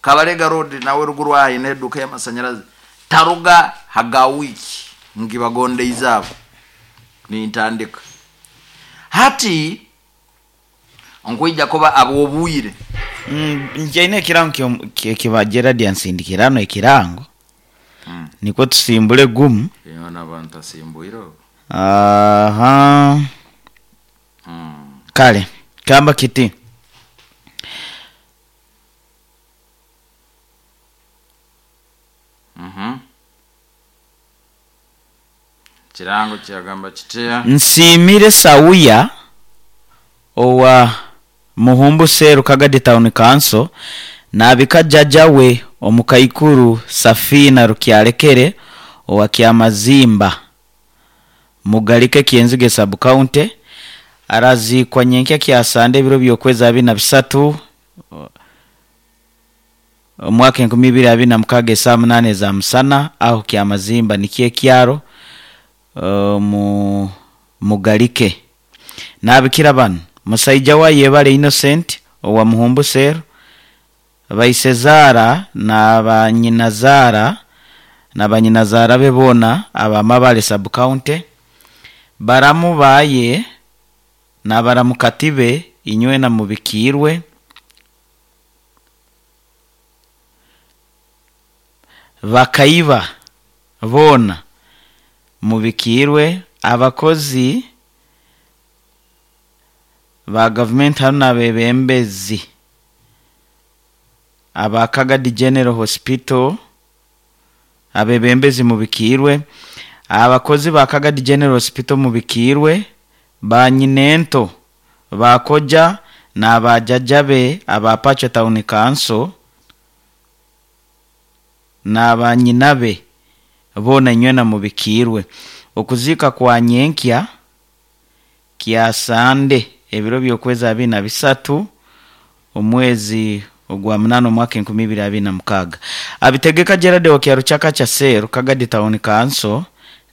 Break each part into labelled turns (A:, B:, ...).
A: Kabalega Road nawe ruguru aho aine eduka y'amasanyarazi, taruga haga wiiki ngibagondeize abo nintandika hati nkwija kuba ab'obwire.
B: Nkyaine ekirango ekiba Gerard yansindikira hano ekirango, nikwo tusimbule gumu.
A: Yoona abantu asimbuireho.
B: Aha. Kale kamba kiti.
A: Kirango kyagamba kitya?
B: Nsiimire Sauya owa Muhumbu Seru Kagadi Town Council nabika jjajja we omukaikuru Safina Rukyalekere owa Kyamazimba Mugalike Kyenzige Sub County, araziikwa nyenkya kyasande ebiro by'okwezi 23 omwaka 2026 esaa 8 eza musana aho Kyamazimba nikyo ekyaro mu Mugalike. Nabikira banu musaija wa Yebale Innocent owa Muhumbu Seru, baisezara na banyinazara na banyinazara be boona aba Mabale Sub County, baramu baye na baramukati be inywena mubikiirwe, bakaiba boona mubikiirwe, abakozi ba gavumenti hanu n'abebembezi aba Kagadi General Hospital, abebembezi mubikiirwe, abakozi ba Kagadi General Hospital mubikiirwe, banyinento bakoja n'abajjajja be aba Pacho Town Council n'abanyinabe boona inywena mubikiirwe. Okuziika kwa nyenkya kyasande ebiro by'okwezi 23 omwezi ogwa munana omwaka 2026. Abitegeka Gerard wa Kyaruchaka cha Seru Kagadi Town Council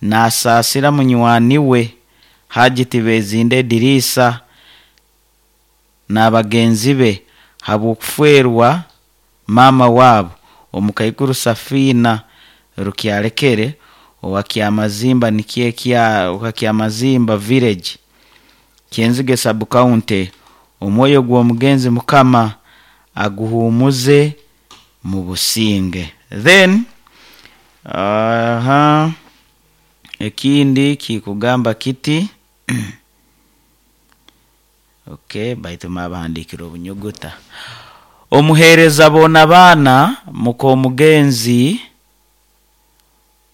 B: nasaasira munywani we Haji Tibezinde Edirisa n'abagenzi be habw'okufeerwa maama waabo omukaikuru Safina Rukyalekere owa Kyamazimba nikyo ekya owa Kyamazimba Village Kyenzige Sub County. Omwoyo gw'omugenzi Mukama aguhumuze mu businge. Then aha ekindi kikugamba kiti, okay, baitu mabahandikire obunyuguta. Omuheereza boona baana muk'omugenzi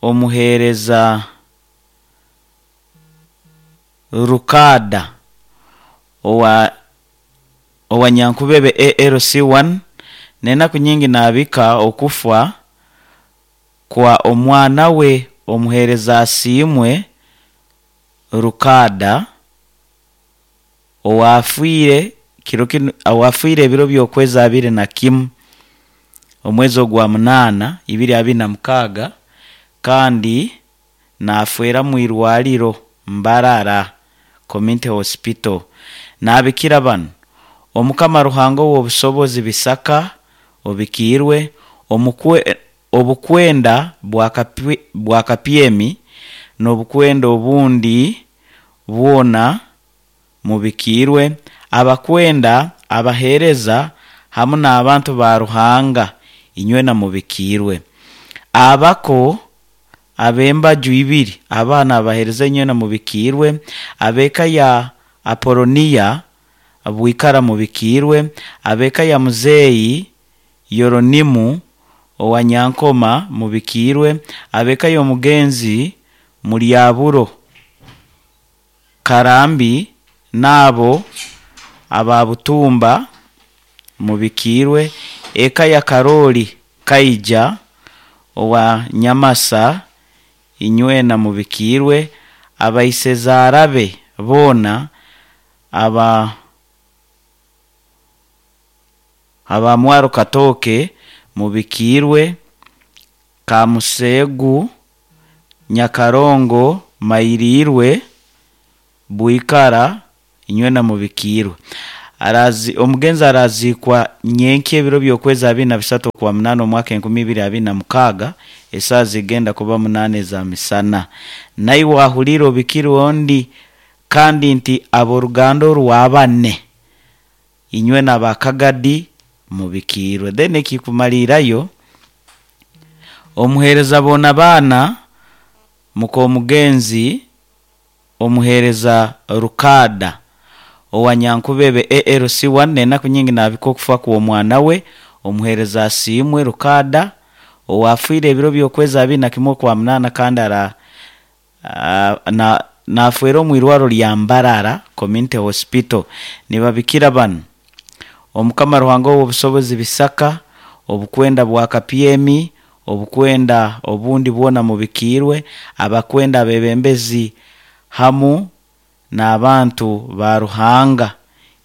B: omuheereza Rukada owa Nyankubebe ALC1 n'enaku nyingi nabika okufa kwa omwana we omuheereza Asiimwe Rukada owafiire kiro kinu owafiire ebiro by'okwezi 21 omwezi ogwa munana 2026 kandi nafeera mu irwariro Mbarara Community Hospital. Nabikira banu Omukama Ruhanga ow'obusobozi Bisaka obikiirwe, obukwenda bwa Kapyemi n'obukwenda obundi bwona mubikiirwe, abakwenda abaheereza hamu n'abantu ba Ruhanga inywena mubikiirwe. Abako ab'embaju ibiri abaana abaheereza inywena mubikiirwe, ab'eka ya Apoloniya Bwikara mubikiirwe, ab'eka ya Muzeeyi Yoronimu owa Nyankoma mubikiirwe, ab'eka y'omugenzi Muryaburo Karambi n'abo aba Butumba mubikiirwe, eka ya Karoli Kaija owa Nyamasa inywena mubikiirwe, abaisezara be boona aba Mwaro Katooke mubikiirwe, Kamuseegu Nyakarongo Mairirwe Bwikara inywena mubikiirwe. Omugenzi araziikwa nyenki ebiro by'okwezi 23 okwa 8 omwaka 2026, esaaha zigenda kuba 8 za misana. Naiwe wahulire obikire ondi, kandi nti ab'oruganda orwabane inywe n'abakagadi mubikiirwe. Then ekikumaliirayo, omuheereza boona baana muk'omugenzi omuheereza Rukada owa Nyankubebe ALC1, n'enaku nyingi naabika okufa kw'omwana we omuheereza Asiimwe Rukada owafiire ebiro by'okwezi 21 okwa 8, kandi ara naafwera omu irwaro lya Mbarara Community Hospital. Nibabikira banu Omukama Ruhanga ow'obusobozi bisaka obukwenda bwa kapyemi, obukwenda obundi bwona mubikiirwe, abakwenda abebembezi hamu n'abantu ba Ruhanga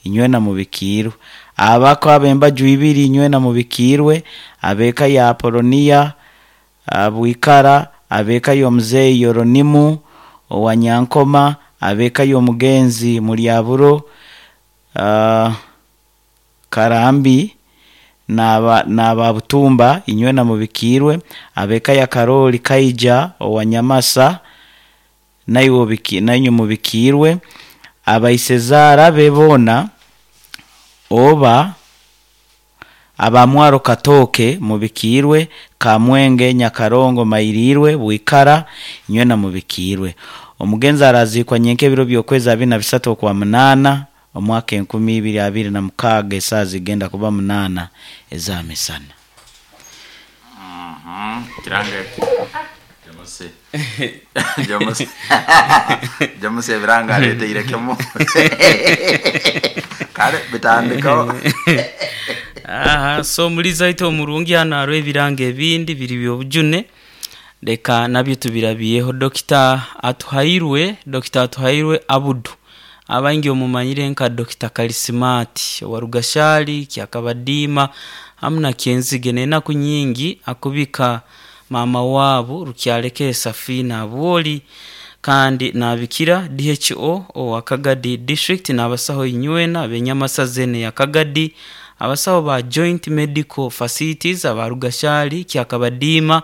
B: inywena mubikiirwe, abako ab'embaju ibiri inywena mubikiirwe, ab'eka ya Apoloniya Bwikara, ab'eka y'omuzeeyi Yoronimu owa Nyankoma, ab'eka y'omugenzi Mulyaburo Karambi n'aba Butumba inywena mubikiirwe, ab'eka ya Karoli Kaija owa Nyamasa nainywe mubikiirwe, abaisezaara be boona oba abamwaro Katooke mubikiirwe, Kamwenge Nyakarongo Mairiirwe Bwikara inywena mubikiirwe. Omugenzi araziikwa nyenka ebiro by'okwezi 23 okwa 8 omwaka 2026, esaaha zigenda kuba 8 eza misana.
A: Kirange Jamusi Jamusi Jamusi ebiranga aleteire kimu kale bitandikaho.
C: Aha, so omulizi waitu omurungi hano hariho ebiranga ebindi biri by'obujune, leka nabyo tubirabyeho. Dokita Atuhairwe, Dokita Atuhairwe Abudu, abaingi omumanyire nka Dokita Kalisimati owa Rugashari, Kyakabadiima hamu na Kyenzige, n'enaku nyingi akubika maama waabu Rukyalekere Safina Abwoli, kandi nabikira DHO owa Kagadi District n'abasaho inywena ab'enyamasa zeene ya Kagadi, abasaho ba Joint Medical Facilities aba Rugashari, Kyakabadiima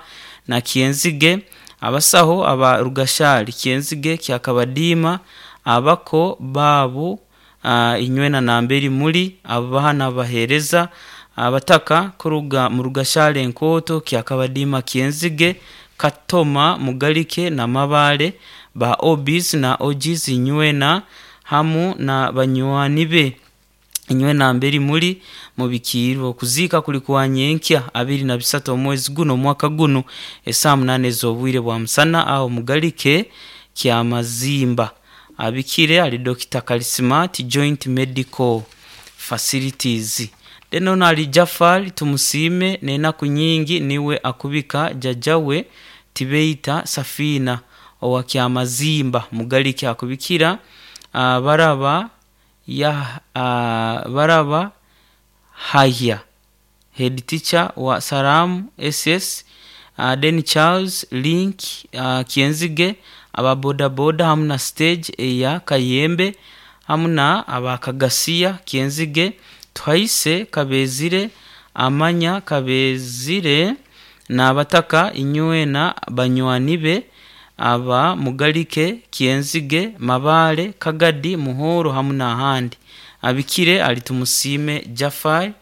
C: na Kyenzige, abasaho aba Rugashari, Kyenzige, Kyakabadiima, abako baabu inywena namberi muri, ababaha n'abaheereza abataka kuruga mu Rugashari Enkooto, Kyakabadiima, Kyenzige, Katoma, Mugalike na Mabale, ba OBs na OGs inywena hamu na banywani be inywe namberi muri mubikiirwe. Okuziika kuli kwa nyenkya 23 omwezi guno omwaka guno esaaha 8 ez'obwire bwa musana aho Mugalike Kyamazimba. Abikire ali Dokita Kalisimati Joint Medical Facilities. Then ono ali Jafari Tumusiime, n'enaku nyingi niwe akubika jjajjawe Tibeita Safina owa Kyamazimba Mugalike, akubikira baraba ya baraba Hahya head teacher wa Salamu SS, then Charles Link Kyenzige, aba boda boda hamu na stage eya Kayembe hamu na abakagasiya Kyenzige, Tuhaise Kabezire, Amanya Kabezire n'abataka inywena banywani be aba Mugalike Kyenzige, Mabale, Kagadi, Muhoro hamu n'ahandi. Abikire ali Tumusiime Jafari,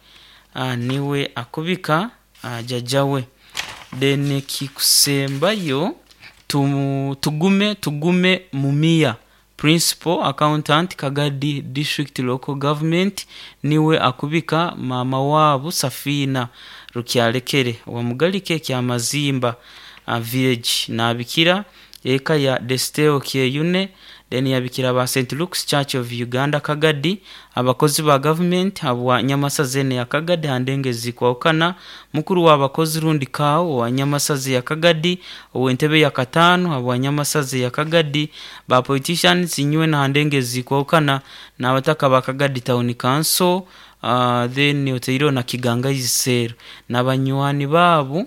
C: niwe akubika jjajjawe. Then kikusembayo tugume tugume Mumia Principal Accountant Kagadi District Local Government niwe akubika mama waabu Safina Rukyalekere wa Mugalike Kyamazimba Village, nabikira eka ya Desteo Kyeyune, then yabikira ba St Luke's Church of Uganda Kagadi, abakozi ba government abwa Nyamasazi ya Kagadi handengezi kwawukana, mukuru w'abakozi rundi kawo wa Nyamasazi ya Kagadi, ow'entebe ya katano abwa Nyamasazi ya Kagadi, ba politicians inywe na handengezi kwawukana, n'abataka ba Kagadi Town Council, then oteiro na Kiganga Isero n'abanywani baabo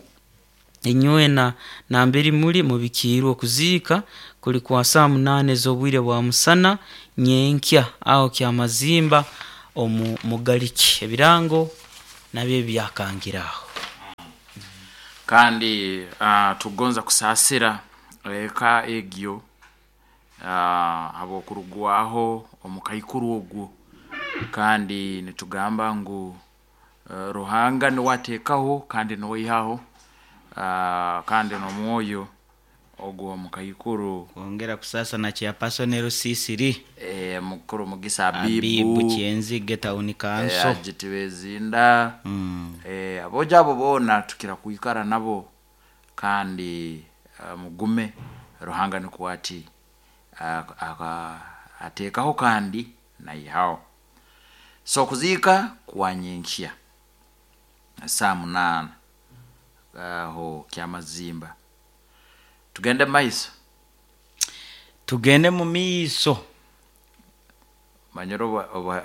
C: inywena namberi muri mubikiirwe. Okuziika kuli kwa saa 8 ez'obwire bwa musana nyenkya aho Kyamazimba. Omu mugaliki ebirango nabyo byakangiraho.
A: Kandi tugonza kusaasira eka egyo habw'okurugwaho omukaikuru ogwo, kandi nitugamba ngu Ruhanga niwe ateekaho kandi niwe aihaho, kandi n'omwoyo ogwo omukaikuru.
B: Kwongera kusasa na chairperson Rusisiri.
A: Mukuru Mugisa
B: Abibu.
A: Abibu.
B: Kyenzige town council.
A: Agiti bezinda. Abojo abo boona tukira kwikara nabo, kandi mugume, Ruhanga nikwo ati ateekaho kandi naihaho. So okuziika kwa nyenkya saa 8 aho Kyamazimba. Tugende maiso.
B: Tugende mu miiso.
A: Manyire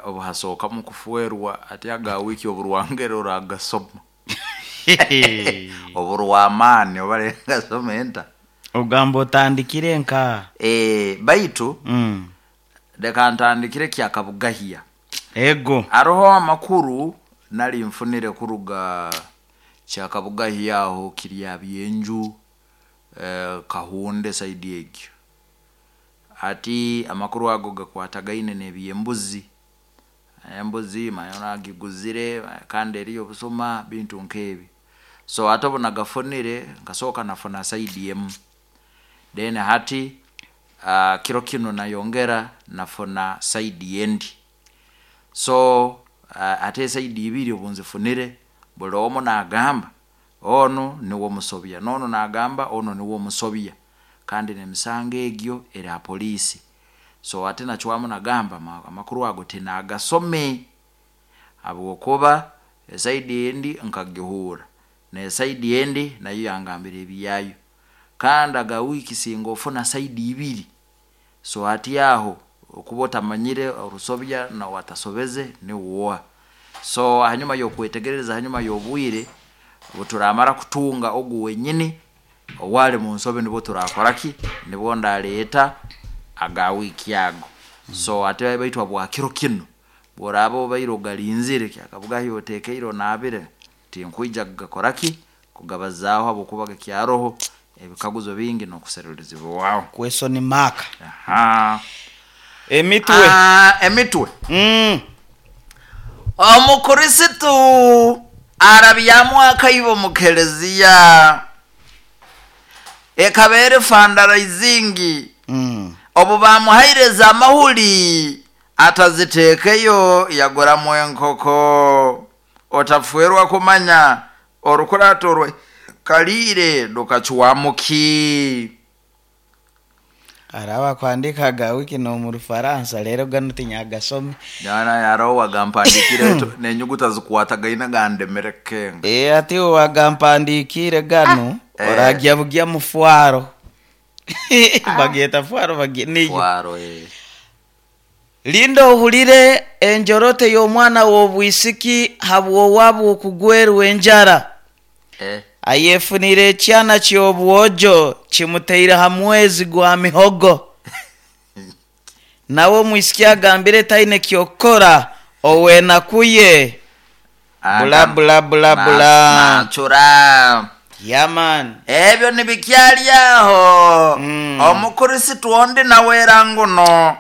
A: obuhasookamu kufuerwa ati aga wiki oburwangere oragasoma oburwamaani obalengasoma enta.
B: Ogamba otandikire nka
A: Baitu leka ntandikire kyakabugahya.
B: Ego.
A: Haroho amakuru nali nfunire kuruga kyakabugahya aho kirya byenju, Kahunde saidi egyo. Ati amakuru ago gakwatagaine n'ebyembuzi, embuzi manya nagiguzire kandi eriyo obusuma bintu nk'ebi. So ate obu nagafunire nkasooka nafuna saidi emu, then hati kiro kinu nayongera nafuna saidi endi. So ate esaidi ibiri obu nzifunire, buli omu naagamba onu niwe omusobya, n'onu naagamba onu niwe omusobya, kandi n'emisango egyo eri ha poliisi. So ate nacwamu nagamba amakuru ago tinagasome habwokuba esaidi endi nkagihuura n'esaidi endi nayo yangambira ebyayo, kandi aga wiiki singa ofuna saidi ibiri, so hati aho okuba otamanyire orusobya n'owatasobeze niwe oha. So hanyuma y'okwetegereza, hanyuma y'obwire obu turamara kutunga ogu wenyini owali mu nsobi, nibwo turakora ki, nibwo ndaleeta aga wiiki ago. So ate baitu habwa kiro kinu bworaaba obaire ogalinzire kyakabugahi otekeire onaabire, tinkwija kugakora ki, kugabazaaho habwokuba gakyaroho ebikaguzo bingi n'okuserulirizibwaho.
B: Question mark.
A: Aha.
B: Emitwe.
A: Emitwe. Omukristo arabyamu akaibo mu keleziya ekaba eri fundraising. Obu bamuhaire amahuri ataziteekeyo yaguramu enkoko. Otafuerwa kumanya orukurato rwe kaliire rukacwamuki.
B: Araba kwandika ga wiki no mu Rufaransa rero gano tinyagasome.
A: Nyana yaroho wagampandikire n'enyuguta zikwatagaine gandemere kenga.
B: Ati wagampandikire gano. Oragya bugya mufwaro. Bagyeta fwaro bagye niyo.
A: Fwaro.
B: Linda ohulire enjorote y'omwana w'obwisiki habw'owabwo okugwerwa enjara. Ayefunire ekyana ky'obwojo kimuteire ha mwezi gwa mihogo. Nawe omwisiki agambire taine kyokukora owenakuye. Bula bula bula bula.
A: Nachura.
B: Yaman.
A: Ebyo nibikyali aho. Omukristo ondi nawera nguno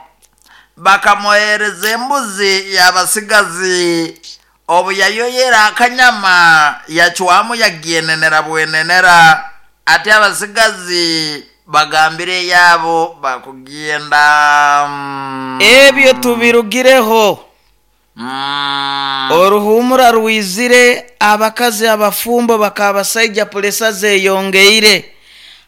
A: bakamuhereza embuzi y'abasigazi, obu yayoyera akanyama yacwamu yagienenera bwenenera, ate abasigazi bagambire yaabo bakugenda.
B: Ebyo tubirugireho. Oruhumura rwizire abakazi abafumbo bakabasaija puresa zeyongeire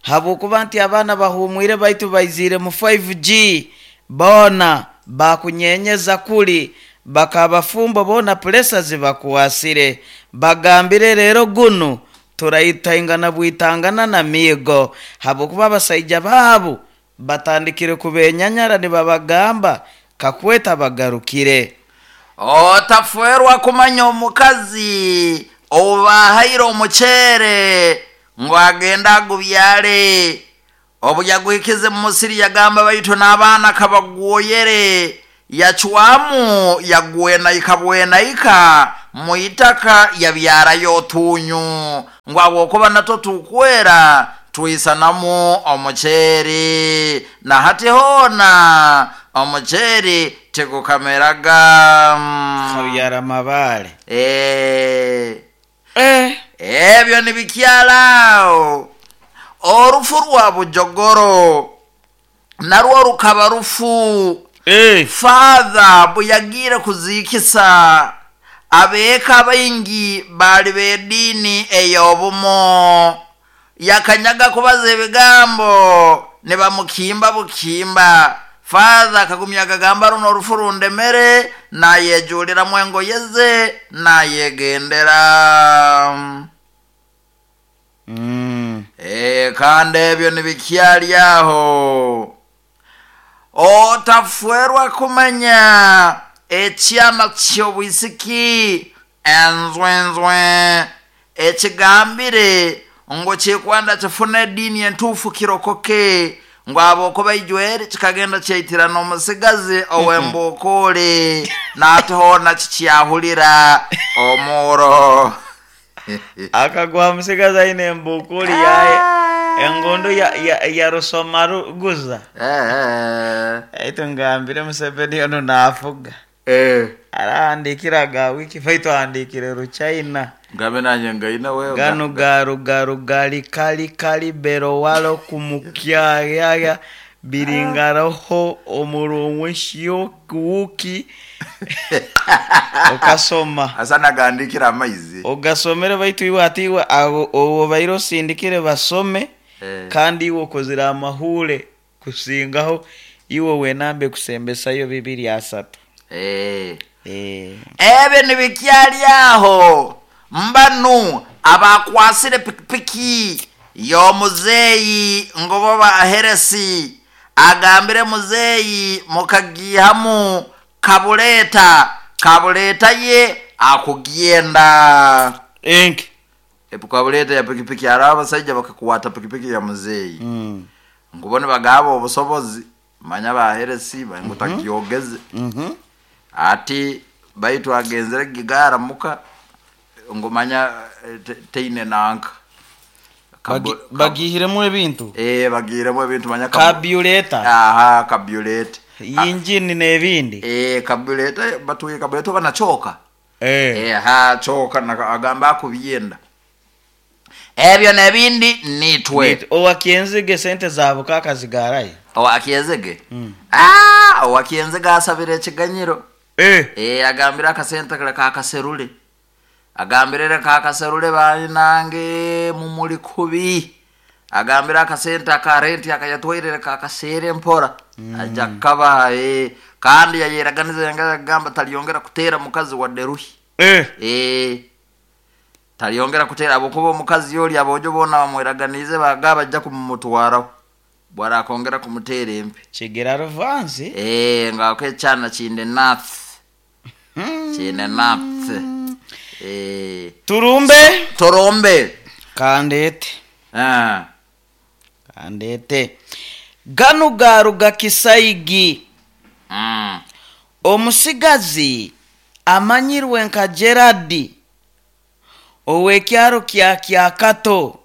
B: habwokuba nti abaana bahumwire baitu baizire mu 5G boona bakunyenyeza kuli bakabafumbo boona puresa zibakwasire bagambire rero gunu turaitangana bwitangana na miigo habwokuba abasaija baabo batandikire kubenyanyara nibabagamba kakweta bagarukire.
A: Otafuerwa kumanya omukazi obubahaire omuceere ngu agende agubyale, obu yaguhikize mu musiri yagamba baitu n'abaana kabagwoyere. Yacwamu yagwenaika bwenaika mu itaka yabyarayo otunyu ngu habwokuba natwo tukwera twisanamu omuceeri na hati hoona omuceeri tigukameraga.
B: Kabyara amabaale.
A: Eh.
B: Eh.
A: Ebyo nibikyalaawo orufu rwa bujogoro narwo rukaba rufu.
B: Eh.
A: Father bwe kuziikisa abeeka abaingi baali b'ediini ey'obumo yakanyaga kubaza ebigambo ne bamukimba bukimba. Father akagumya agagamba runo orufu rundemere nayejuliramu engoye ze nayegendera. Kandi ebyo nibikyali aho otafwerwa kumanya ekyana ky'obwisiki enzwenzwe ekigambire ngu kikwenda kifune ediini entuufu kirokoke ngu abokuba ijweri kikagenda kyaitirana omusigazi ow'embukuuli naati hoona kikyahulira omuuro.
B: Akagwa musigazi aine embukuli yaye engondo ya rusoma ruguza. Aitu ngambire Museveni ono nafuga. Arahandikira ga wiki baitu ahandikire ruchina.
A: Ngambe nanye ngaina wewe.
B: Gano garu garu gali kali kali berowalo kumukyayaya biringaroho omurumwe shiokuuki okasoma.
A: Asa nagandikira amaizi.
B: Ogasomere baitu iwe ati iwe abo obo baire osindikire basome. Kandi iwe okozire amahure kusingaho iwe wenambe kusembesayo 2-3.
A: Ebyo nibikyali aho mbanu abakwasire pikipiki y'omuzeeyi ngo baheresi agambire muzeeyi mukagihamu kabuleeta kabuleeta ye akugyenda.
B: Enki
A: Kabuleeta ya pikipiki ari abasajja bakakwata pikipiki ya muzeeyi. Ngu bo nibagaba obusobozi manya baheresi ngu tagyogeze. Ati baitu agenzere gigara muka ngu manya teine nanka.
B: Bagihiremu ebintu?
A: Bagihiremu ebintu manya
B: Kabyuleta.
A: Aha, kabyuleta.
B: Injini n'ebindi.
A: Kabyuleta batuye kabyuleta banachoka. Ha choka na agamba akubyenda. Ebyo n'ebindi nitwe.
B: Owakyenzige sente zabo kakazigarayo.
A: Owakyenzige? Owakyenzige asabire ekiganyiro. Agambira akasente kale kakaserule. Agambirere kakaserule bainange mumuli kubi. Agambira akasente akarenti akayatwairere kakasere mpora. Ajja kaba kandi yayeraganiza yanga agamba taliyongera kutera mukazi wa deruhi. Taliyongera kutera abokuba omukazi yoli abojo bona bamweraganize bagaba ajja kumumutwaraho. Bwara akongera kumutera empi.
B: Kigera ruvanzi.
A: Nga kekyana kinde nath. Kinde nath.
B: Turumbe.
A: Turumbe.
B: Kandete. Kandete. Ganu garuga kisaigi. Omusigazi amanyirwe nka Gerard owekyaro kya Kyakato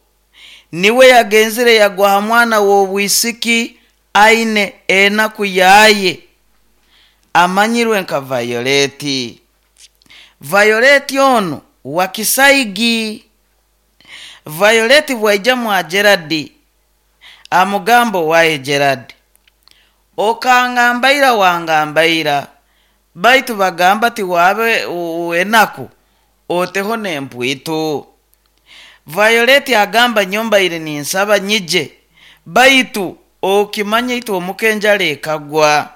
B: niwe yagenzire yagwa mwana w'obwisiki aine enaku yaye amanyirwe nka Violeti. Violeti ono wa Kisaigi. Violeti bwaija mwa Gerard amugambo waye Gerard okangambaira wangambaira baitu bagamba ti wabe enaku oteho nempwitu. Violeti agamba nyombaire ninsaba nyije baitu okimanya itu omukenjale ekagwa.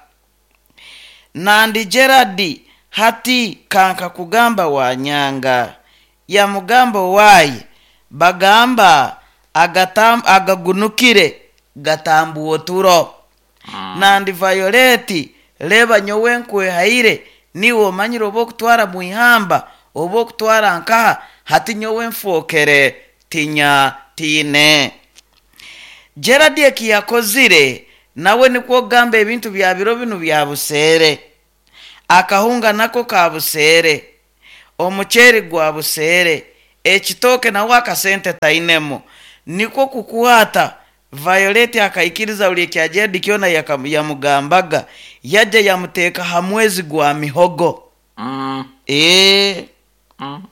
B: Nandi Gerard hati kanka kugamba wanyanga yamugamba waye bagamba agagunukire gatambuo turo. Nandi Violeti leba nyowe nkwehaire niwe omanyire oba okutwara mwihamba oba okutwara nkaha hati nyowe nfokere tinya tine. Gerard ekiyakozire nawe nikwo ogamba ebintu bya biro binu bya buseere. Akahunga nako ka buseere, omuceeri gwa buseere, ekitooke nawe akasente tainemu. Nikwo kukwata Violet akaikiriza buli ekya Gerald kyona yamugambaga, yajja yamuteeka ha mwezi gwa mihogo.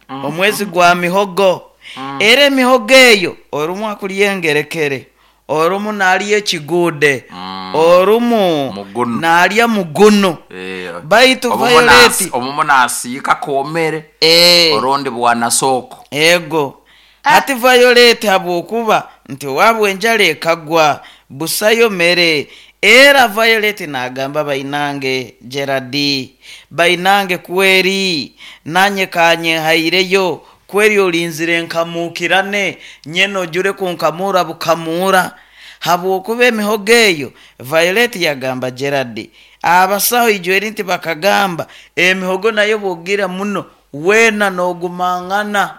B: Omwezi gwa mihogo. Era emihogo eyo orumu akulya engerekere, orumu nalya ekiguude, orumu
A: Mugunu.
B: nalya mugunu. Baitu Violet
A: Omumu nasiika komere, orundi bwana sooko.
B: Ego. Hati Violet habwokuba nti owaabwe enjara ekagwa busayo mere, era Violet nagamba bainange Gerald, bainange kweri nanye kanyehaireyo, kweri olinzire nkamukirane nyene ojure kunkamura bukamura. Habwokuba emihogo eyo Violet yagamba Gerald, abasaho ijweri nti bakagamba emihogo nayo bwogira muno wena nogumangana.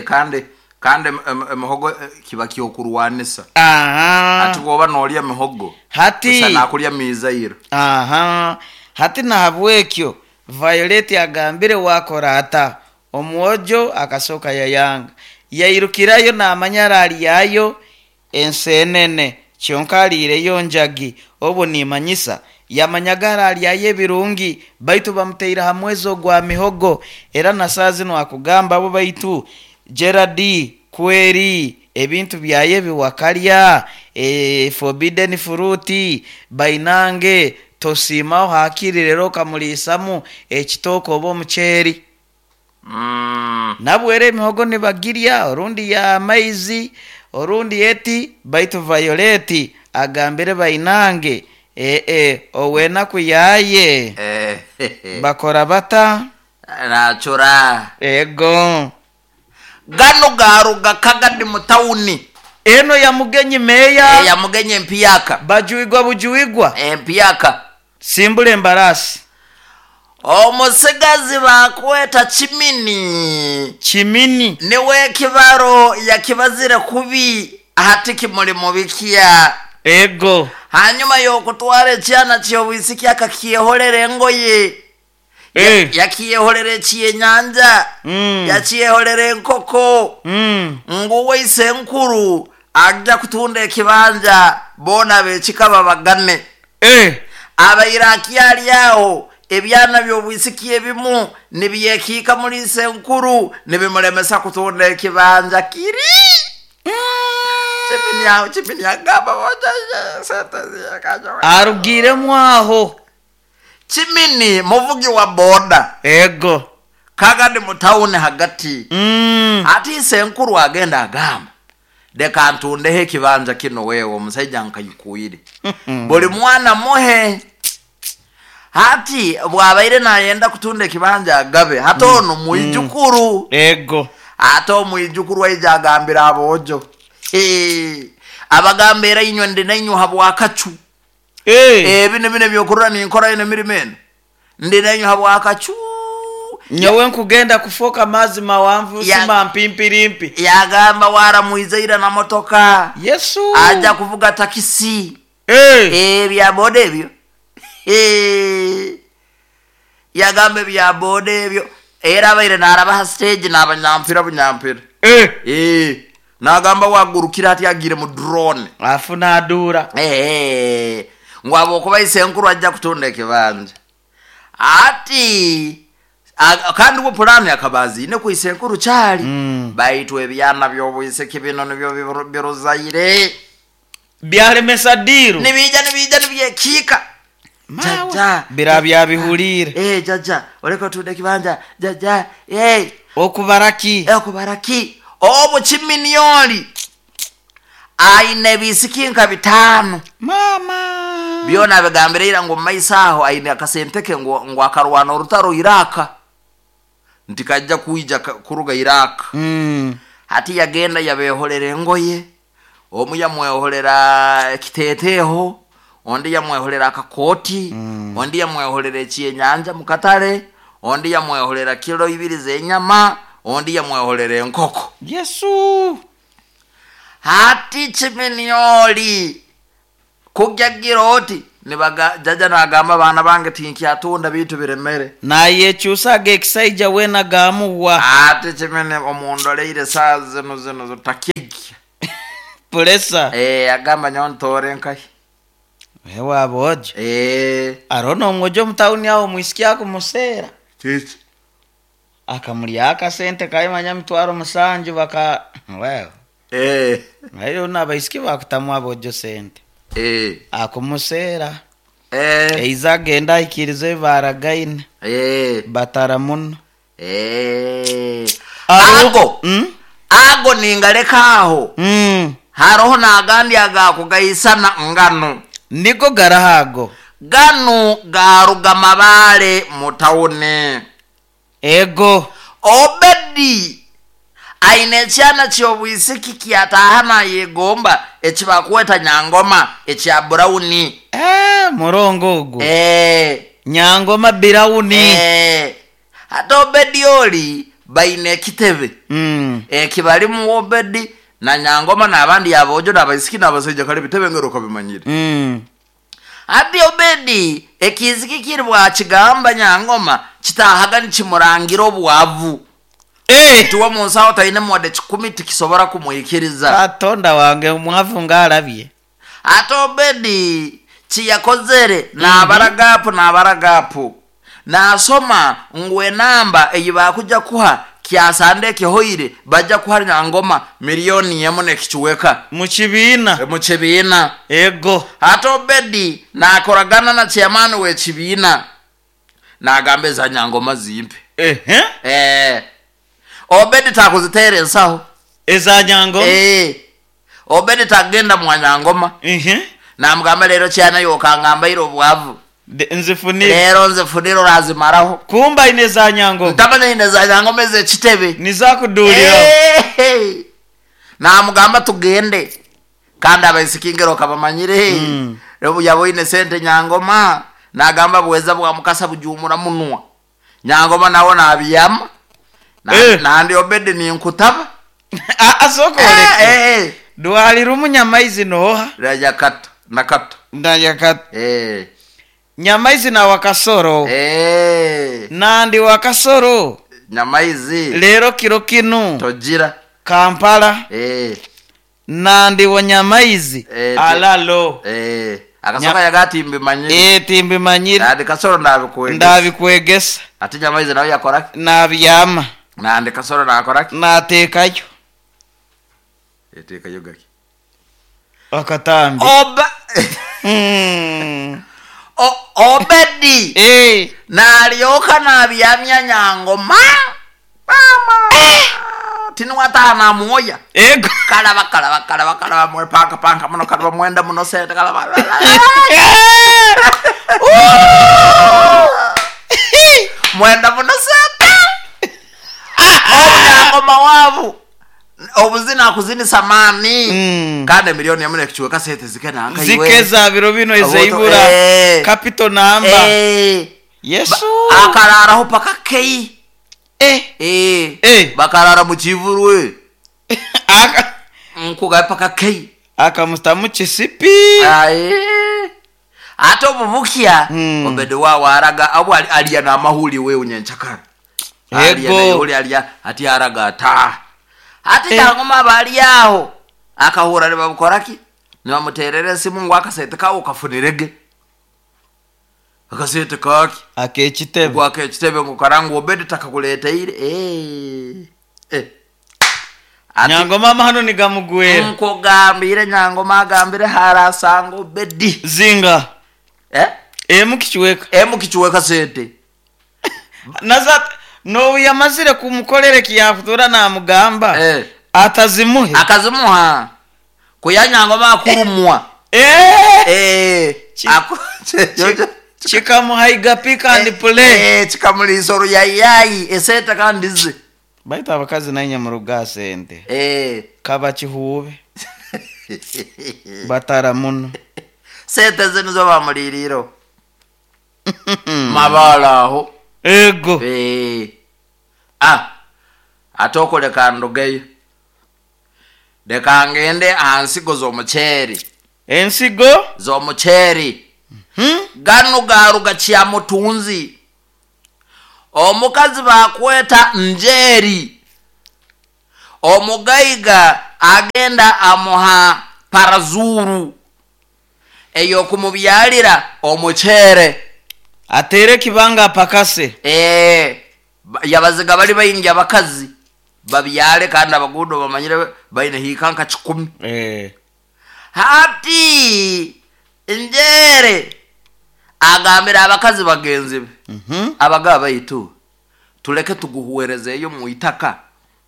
A: Kandi emihogo kiba kyokurwanisa. Ati bwoba nolya emihogo,
B: Hati
A: busa nakulya mizairo.
B: Hati nahabwekyo Violet agambire wakora ata, omwojo akasoka yayanga, yairukirayo namanya aralyayo ensenene kyonka aliireyo njagi. Obwo nimanyisa yamanyaga aralyayo ebirungi, baitu bamuteire ha mwezi ogwa mihogo. Era na saa zino akugamba abo baitu Gerald kweri ebintu byaye biwakalya, forbidden fruit bainange tosiimaho hakiri rero okamuliisamu ekitooke oba omuceeri. Nabwo era emihogo nibagirya, orundi ya maizi, orundi eti, baitu Violet agambire bainange owenaku yaye bakora bata?
A: Nachura.
B: Ego.
A: Gano garuga kagadi mu tawuni.
B: Eno ya mugenyi meya.
A: Ya mugenyi empiyaka.
B: Bajuigwa bujuigwa.
A: Empiyaka.
B: Simbula embarasi.
A: Omusigazi bakweta Kimini.
B: Kimini.
A: Niwe kibaro yakibazire kubi hati kimuli mubikia.
B: Ego.
A: Hanyuma yokutwara ekyana ky'obwisiki akakiyeholera engoye. Yakiyeholera ekyenyanja. Yakiyeholera enkoko. Nguwe isenkuru ajja kutunda ekibanja bona bekikaba bagane. Abairaki ali aho ebyana by'obwisiki ebimu nibyekiika muri isenkuru nibimulemesa kutunda ekibanja kiri. Kimini agamba
B: arugiremu aho.
A: Kimini muvugi wa boda.
B: Ego.
A: Kagadi mu tawuni hagati. Ati isenkuru agenda agamba leka ntundeho ekibanja kino wewe omusajja nkayikuire. Buli mwana muhe. Hati bwabaire nayenda kutunda ekibanja agabe hati ono mwijukuru.
B: Ego.
A: Ate omwijukuru aija agambira abojo. Abagambira inywe ndi nainywe habwakacu. Ebino bino byokurora ninkora ino emirimo eno. Ndi nainywe habwakacu.
B: Nyowe nkugenda kufoka mazi mawanvu sima mpimpirimpi.
A: Yagamba waramuizaira na motoka.
B: Yesu.
A: Aja kuvuga takisi. Ebya boda ebyo. Yagamba ebya boda ebyo. Era abaire narabaha stage n'abanyampira bunyampira. Nagamba wagurukira ati agire mu drone.
B: Afu nadura.
A: Ngwabo kuba isenkuru ajja kutunda ekibanja. Ati kandi uwo pulani akabazi ine ku isenkuru cyari. Baitu ebyana by'obwisiki bino nibyo biruzaire.
B: Byalemesa diru.
A: Nibija nibyekika. Jaja
B: birabya bihulire.
A: Jaja oreko tunde kibanja jaja.
B: Okubaraki.
A: Okubaraki. Obo kiminioli aine bisiki nka 5.
B: Mama.
A: Byona bigambirira ngo maisaho aine akasenteke ngo akarwana orutaro Iraka. Ntikajja kuija kuruga Iraka. Hati yagenda yabeholera engoye. Omu yamweholera ekiteteho, ondi yamweholera akakoti, ondi yamweholera ekyenyanja mukatale, ondi yamweholera kilo 2 z'enyama, ondi yamweholera enkoko.
B: Yesu.
A: Hati kiminioli kujjagira oti Nibaga jaja nagamba abaana bange tinkyatunda bintu biremere.
B: Nayekyusaga ekisaija wena gamuwa.
A: Ate kimene omundoleire saa zino zino zotakigya.
B: Puresa.
A: Agamba nyowe ntore nkahi.
B: Ewaabo ojo. Aroho omwojo omutawuni aho omwisiki akumuseera.
A: Kiki?
B: Akamuryaho akasente kaimanya 700,000 baka well. Nayo n'abaisiki bakutamu abojo sente. Akumuseera. Eiza agenda ahikiriza ebi baragaine. Batara muno.
A: Ago. Ago ningaleka aho. Haroho n'agandi agakugaisana ngano.
B: Niko garahago.
A: Ganu garuga Mabale mu tawuni.
B: Ego.
A: Obedi aine ekyana ky'obwisiki kyataha nayegomba ekibakweta Nyangoma ekya Brown.
B: Murongo ogwo. Nyangoma Brown.
A: Ate Obedi oli baine ekitebe. Ekibalimu Obedi na Nyangoma n'abandi abojo n'abaisiki n'abasaija kale bitebe ngero kabimanyire. Ati Obedi ekiziki kiri bwakigamba Nyangoma kitahaga nikimurangira obwavu. Tuwe mu nsawo taine muwadde 10 tikisobora kumuikiriza.
B: Katonda wange omwavu ng'alabye.
A: Ate Obedi kiyakozere n'abaragapu n'abaragapu. Nasoma ngu enamba eyi bakuja kuha kyasande ekihoire bajja kuha Nyangoma 1,000,000 n'ekikiweka.
B: Mu kibiina.
A: Mu kibiina.
B: Ego.
A: Ate Obedi nakoragana na chairman w'ekibiina. Nagamba eza Nyangoma zimpe. Obedi takuziteera ensaho.
B: Eza Nyangoma?
A: Obedi tagenda mwa Nyangoma. Namugamba leero kyana yokangambaire obwavu.
B: Nzifunire.
A: Leero nzifunire orazimaraho.
B: Kumba ine za Nyangoma.
A: Ntamanya ine za Nyangoma ez'ekitebe.
B: Nizakudulira.
A: Namugamba tugende. Kandi abaisiki ngero kabamanyire. Obu yaboine sente Nyangoma. Nagamba bweza bwa mukasa bujumura munwa. Nyangoma nawo nabiyama. Nandi Obedi ni nkutaba.
B: Asoko oleke. Dwali rumu nyamaizi noha.
A: Rajakata nakato.
B: Ndajakata. Nyamaizi na wakasoro. Nandi wakasoro.
A: Nyamaizi.
B: Lero kiro kinu.
A: Tojira.
B: Kampala. Nandi wa nyamaizi. Alalo.
A: Akasoka yagati mbimanyire.
B: Timbimanyire.
A: Nandi kasoro ndabikwegesa.
B: Ndabikwegesa.
A: Ati nyamaizi nawe yakoraki?
B: Nabyama.
A: Nandi kasoro nakoraki?
B: Natekayo.
A: Etekayo gaki.
B: Akatambi.
A: Oba. Obedi. Nalyoka nabyamya Nyangoma. Mama. Tinuwataha namuoya.
B: Ego.
A: Kalaba kalaba kalaba kalaba mwe panka panka muno kalaba mwenda muno sente kalaba. Mwenda muno sente. Nyangoma wavu. Obuzina akuzini samani. Kandi 1,000,000 n'ekichweka sente zikena nka iwe.
B: Zikeza biro bino ezeibura. Capital number. Yesu.
A: Akararaho paka kei. Bakarara mu kivurwe. Nkuga paka kei.
B: Akamutamu kisipi.
A: Ate obubukya Obedi wawe araga abo alya n'amahuli we unyenchakara. Alya n'amahuli alya ati araga ata. Ati Nyangoma bali aho. Akahura nibamukoraki? Nibamuterera esimu ngu akasente kawo kafunirege. Akasente kaki?
B: Akekitebe.
A: Ngu akekitebe ngu karangu Obedi takakuleteire.
B: Nyangoma amahano nigamugwera.
A: Nkugambire Nyangoma agambire harasanga Obedi.
B: Zinga. Emu kichiweka.
A: Emu kichiweka sente.
B: Naza no yamazire kumukolere kiyafutura namugamba. Atazimuhe.
A: Akazimuha. Kuya Nyangoma akurumwa.
B: Chikamuhaiga pick and play.
A: Chikamulisa oruyayayi esente kandi ze.
B: Baita abakazi nainya muruga sente. Kaba kihuube. Batara muno.
A: Sente zino zo bamuliriro. Mabala aho.
B: Ego.
A: Ate okuleka ndugeyo. Leka ngende aha nsigo z'omuceeri.
B: Ensigo?
A: Z'omuceeri. Ganu garuga Kyamutunzi, omukazi bakweta Njeri, omugaiga agenda amuha parazuru eyokumubyalira omucere.
B: Atere kibanga apakase.
A: Yabaziga bali baingi abakazi babyale, kandi abagudo bamanyire baine hiika nka 10. Hati Njere agambira abakazi bagenzi be, abagaba baitu tuleke tuguhuwerezeeyo mu itaka,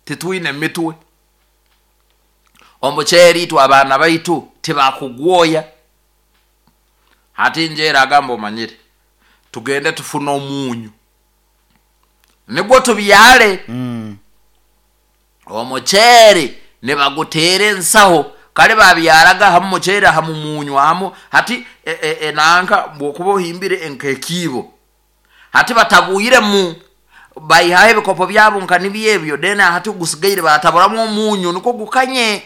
A: titwine mitwe, omuceeri itwe abaana baitu tibakugwoya. Hati Njere agamba, omanyire tugende tufune omunyu nigwo tubyale. Omuceeri nibaguteera ensaho, kale babyaraga hamu muceeri hamu munyu hamu. Hati enanka bwokuba ohimbire nkekiibo, hati batabwiremu, baihaho ebikopo byabo nka nibyo ebyo, then hati gusigaire bataburamu omunyu nikwo gukanye.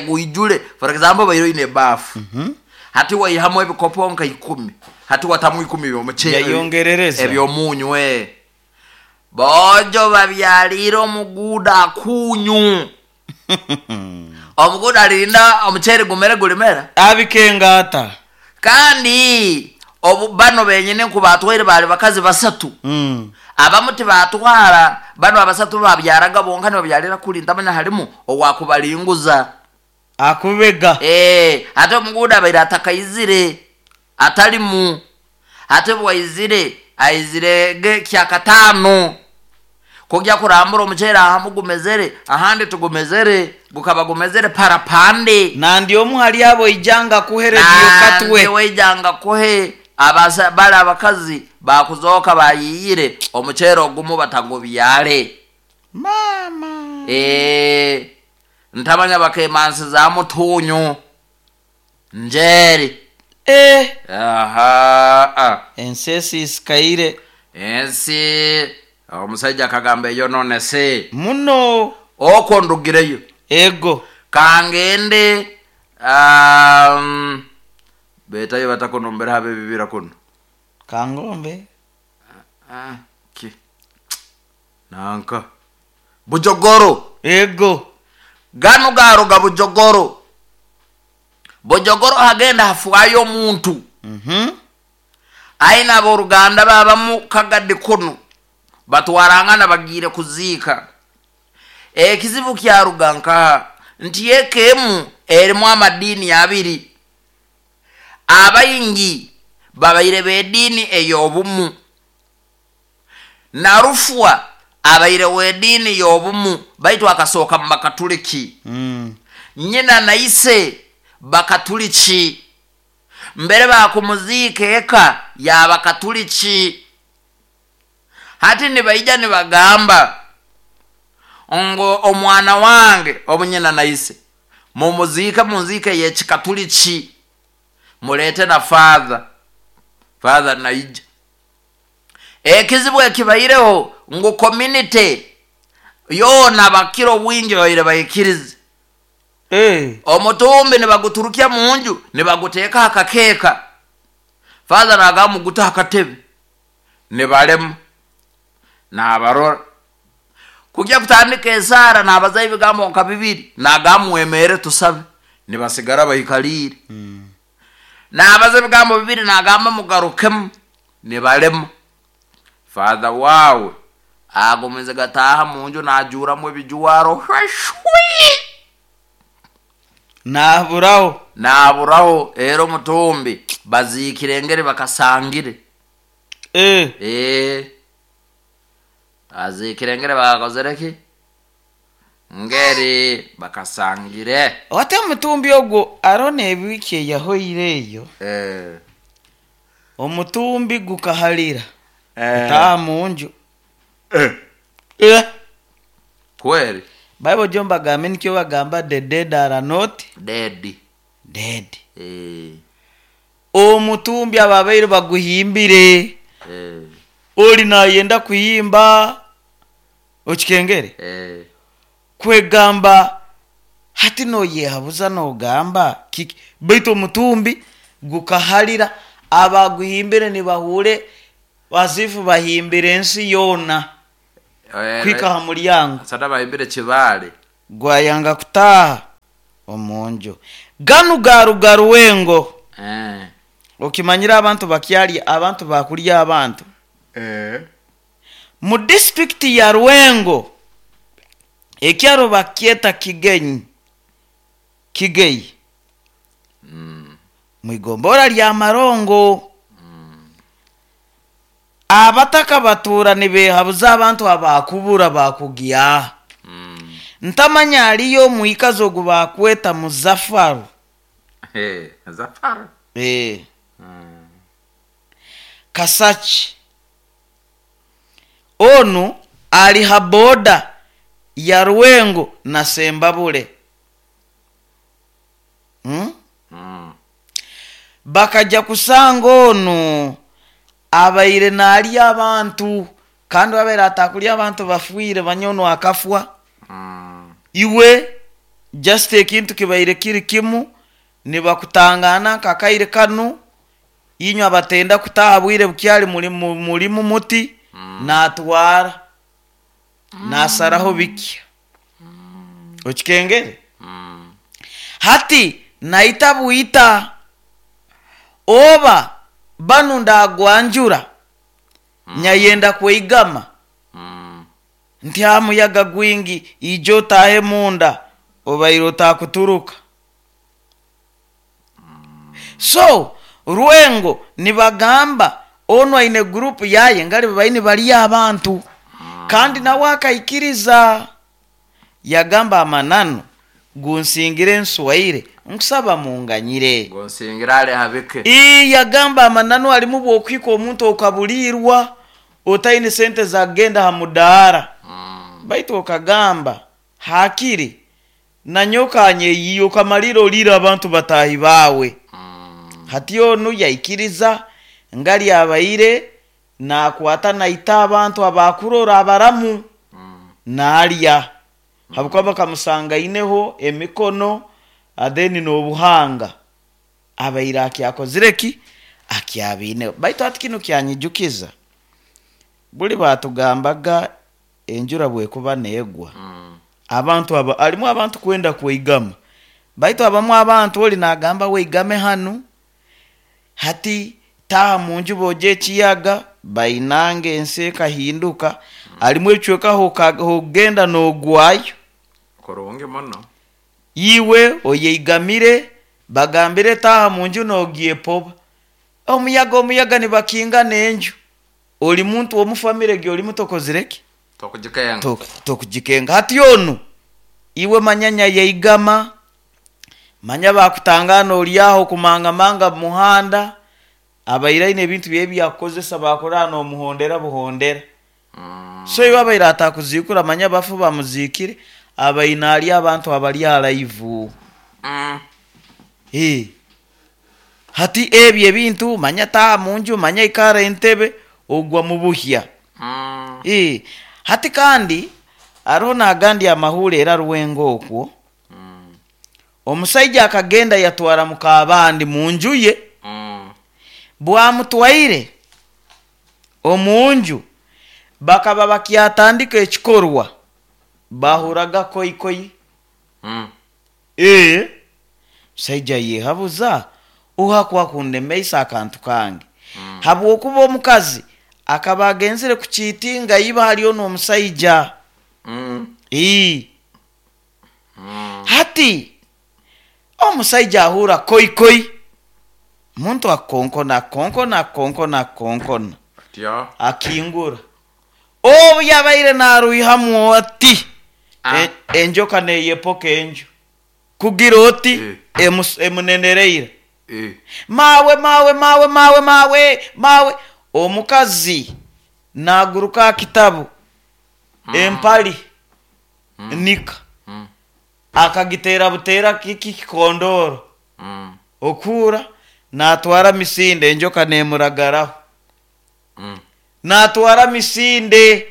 A: Gwijule. For example, baire oine ebaafu, hati waihamu ebikopo nka 10, hati watamu 10 byomuceeri
B: Yayongerereza.
A: ebyomunyu. Bojo babyalire omuguuda akunyu, omuguuda alinda omuceeri gumere, gulimera.
B: Abikengata.
A: Kandi obu bano benyini nkubatwaire bali bakazi 3. Abamu tibatwara, bano abasatu babyaraga bonka, nibabyalira kuli, ntamanya halimu owakubalinguza.
B: Akubega.
A: Ate omuguuda abaire atakaizire atalimu, ate bwaizire aizire ge kyakataano kujya kurambura omuceeri ahamu gumezere, ahandi tugumezere, gukaba gumezere parapande.
B: Nandi omu hali abo ijanga kuherediyo katwe.
A: Weijanga kuhe abasa bali abakazi bakuzoka bayiyire omuceeri ogumu batagubyale.
B: Mama.
A: Ntamanya bakemansi za mutunyu Njeri. Aha.
B: Ensi esisikaire.
A: Ensi omusajja akagamba eyo none se
B: muno.
A: Okwo ndugireyo.
B: Ego.
A: Kangende betayo batakunumbira habe bibira kuno.
B: Kangombe.
A: Ki nanka Bujogoro.
B: Ego.
A: Gano garuga Bujogoro. Bujogoro hagenda hafwayo omuntu. Aina aboruganda babamu Kagadi kuno batwarangana bagire kuziika. Ekizibu kyaruga nkaha nti ekemu erimu amadini abiri, abaingi babaire b'ediini ey'obumu, Narufwa abaire w'ediini y'obumu, baitu akasooka mu bakatuliki. Nyina naise bakatuliki, mbere bakumuziika eka y'abakatuliki. Hati nibaija nibagamba ngo omwana wange obunyina naise mumuziike munziike y'ekikatuliki, mulete na father. Father naija. Ekizibu ekibaireho ngu community yoona bakiro bwingi babaire baikirize. Omutumbi nibaguturukya munju nibaguteeka akakeeka, father nagamba mugute akatebe, nibalema nabarora kujya kutandika esara, nabaza ebigambo nka bibiri, nagamba mwemere tusabe, nibasigara baikalire. Nabaza ebigambo bibiri, nagamba mugarukemu, nibalema. Father wawe agumize gataha munju najuramu ebijuwaro hweshwi.
B: Naburaho.
A: Naburaho. Era omutumbi baziikire engeri bakasangire. Aziikire engeri bakakozereki ngeri bakasangire.
B: Ate omutumbi ogwo arona ebiiki eyahoire eyo. Omutumbi gukahalira. Taa munju.
A: Kweli.
B: Bible jo mbagambe nikyo bagamba the dead are not
A: dead.
B: Dead. Omutumbi ababaire baguhimbire. Oli nayenda kuhimba okikengere. Kwegamba hati noyehabuza nogamba kiki, baitu omutumbi gukahalira Abaguhimbire nibahure bazifu bahimbire ensi yoona kwika ha mulyango.
A: Sada bahimbire kibaale.
B: Gwayanga kutaaha omunju ganu garuga Ruwengo. Okimanyire abantu bakyalya abantu, bakulya abantu mu disitulikiti ya Ruwengo, ekyaro bakyeta Kigenyi, Kigeyi, mwigombora lya Marongo. Abataka batura nibehabuza abantu abakubura bakugya. Ntamanya aliyo mwikazo ogu bakweta Muzafaru.
A: Zafaru.
B: Kasaki onu ali ha boda ya Ruwengo na Sembabule. Bakajja kusanga onu abaire naalya abantu, kandi abaire atakulya abantu bafiire, banyono akafwa. Iwe just ekintu kibaire kiri kimu, nibakutangana nkakaire kanu inywe abatenda kutaha bwire bukyali mulimu muti natwara nasaraho bikya okikengere. Hati naita bwita oba banu ndagwanjura nyayenda kweigama nti hamuyaga gwingi ijo otahe munda obaire otakuturuka. So Rwengo nibagamba onu aine gurupu yaye ngali baine bali abantu, kandi nawe akaikiriza yagamba amananu gunsingire nswaire nkusaba munganyire.
A: Gonsingira ale habike.
B: Yagamba amananu alimu bwokwika omuntu okabulirwa otaine sente zagenda ha mudaara. Baitu okagamba hakiri nanyoka anyeyiye okamalira olira abantu batahi bawe. Hati onu yaikiriza ngali abaire nakwata naita abantu abakurora abaramu naalya, habwokuba bakamusanga aineho emikono atheni n'obuhanga abaire akyakozire ki akyabiineho. Baitu hati kinu kyanyijukiza buli batugambaga enjura bwekuba neegwa. Abantu aba alimu abantu kwenda kweigama, baitu abamu abantu oli nagamba weigame hanu, hati taha munju boja ekiyaga bainanga ensi ekahinduka. Alimu ebicweka hogenda nogwayo
A: kurungi muno.
B: Iwe oyeigamire bagambire taha munju nogyepoba omuyaga, omuyaga nibakinga nenju oli muntu omufamire gye oli mutokozireki
A: tokugikenga.
B: Tokugikenga. Hati onu iwe manyanya yaigama manya bakutangana oliaho kumangamanga mumuhanda abaire aine ebintu bye byakukozesa bakora nomuhondera buhondera. So iwe abaire atakuzikura manya bafu bamuzikire abaine ali abantu abali alaivu. Hati ebyo ebintu manya taha munju manya ikara entebe ogwa mubuhya. Hati kandi aroho nagandi amahule era Ruwengo okwo. Omusaija akagenda yatwara mukabandi munju ye. Bwamutwaire omunju bakaba bakyatandika ekikorwa bahuraga koikoi. Musaija yehabuza ohakwa kundemeisa akantu kange. Habwokuba omukazi akaba agenzire kukiitinga iba haliyo n'omusaija. Hati omusaija ahura koikoi muntu akonkona akonkona akonkona akonkona akingura obu yabaire naruihamu ati enjoka neyepoka enju kugira oti emunenereire. Mawe mawe mawe mawe mawe mawe. Omukazi naguruka akitabu empali nika akagitera butera kiki kikondoro okura natwara misinde enjoka nemuragaraho. Natwara misinde